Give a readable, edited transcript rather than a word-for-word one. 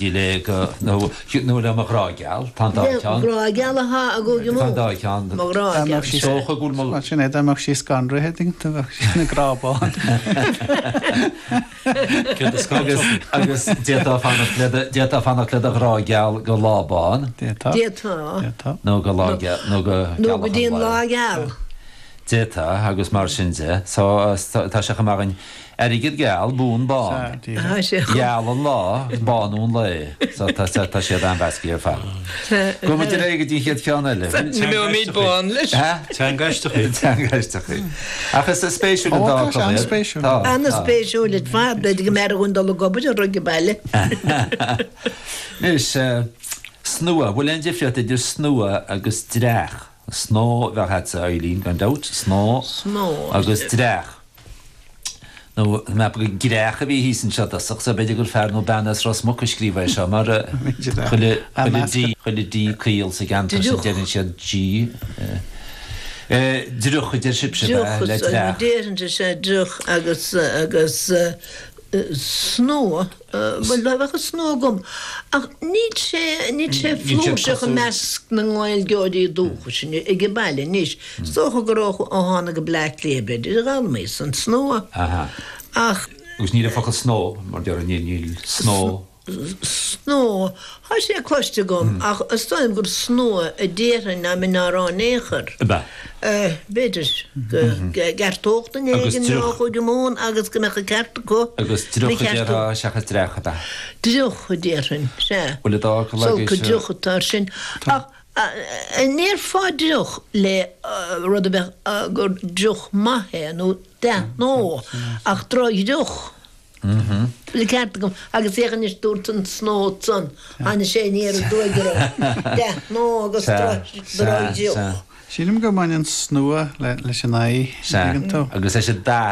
Le go, nó, nó le mo ghrá geal, tá an dá cheann. Le grá geal atá i gCúige Tá an dá cheann. Mo ghrá geal. Is dócha go bhfuil mo. Bhuel, sin é, dá mbeadh sí scanraithe, dtuigeann tú, bheadh sí ina grá bán. Agus, agus d'fhéadfá fanacht le do, d'fhéadfá fanacht le do ghrá geal go lá bán. D'fhéadfá. D'fhéadfá. D'fhéadfá. Nó go lá geal, nó go Nó gealach go dtí an an lae. lá geal. D'fhéadfá, agus mar sin de. So, tá sé chomh maith againn. Airgead geal, buan bán. Geal an lá, bánú an lae. So tá tá siad an-mheasctha ar fad. Gabhfaidh muid ar aghaidh go dtí an chéad cheann eile. Imeoimid bán leis. Teanga aisteach í. Teanga aisteach í. Ach is spéisiúil an dá Ó, tá sé an-spéisiúil. Tá. An-spéisiúil ar fad. B'fhéidir go mb'fhearr dhúinn dul ag obair ar ag baile. Anois, snua. Bhfuil aon difríocht idir snua agus dreach? Snó a bheadh agatsa, Eileen, gan dabht. Snó. Snó. Agus dreach. Nó mé gur greach a bhí thíos anseo i dtosach, so b'fhéidir gur fear nó bean as Ros Muc a scríobh é seo, mar chuile, chuile D, chuile D caol sa gceantar sin deireann siad G. Driuch a deir sibhse, ab ea, le dreach. Deireann sé driuch agus, agus snó. Bhuel, bheadh an snó agam, ach níl sé, níl sé flúirseach i measc na nGaeilgeoirí dúchais ag an baile anois. Is dócha gur ó tháinig go Bleá Cliath, b'fhéidir, a d'fhoghlaimíos an snó. Ach. Agus níl an focal snó, mar déarfainn, níl, níl snó. Snó, tá sé cloiste agam, ach is dóigh liom gur snua a déarfainn dá mbeinn á rá in aon chor. Ab ea? B'fhéidir go gceartódh duine éigin mé ó Chúige Mumhan agus go mbeadh an ceart acu. Agus driuch a déarfá seachas dreach, ab ea? Driuch a déarfainn, sea. Bhfuil an dá fhocal agaibhse? Is dócha driuch atá air sin. Ach an ndéarfá driuch le rud a bheadh gur driuch maith é nó dea-shnó ach drochdhriuch? Bhfuil an ceart agam. Agus féach anois, dúirt an snó ansan, tháinig sé aniar aduaidh orm. Dea-shnó agus drochdhriuch. Sílim go mbaineann snua leis an aghaidh, an dtuigeann tú? Agus leis an dath.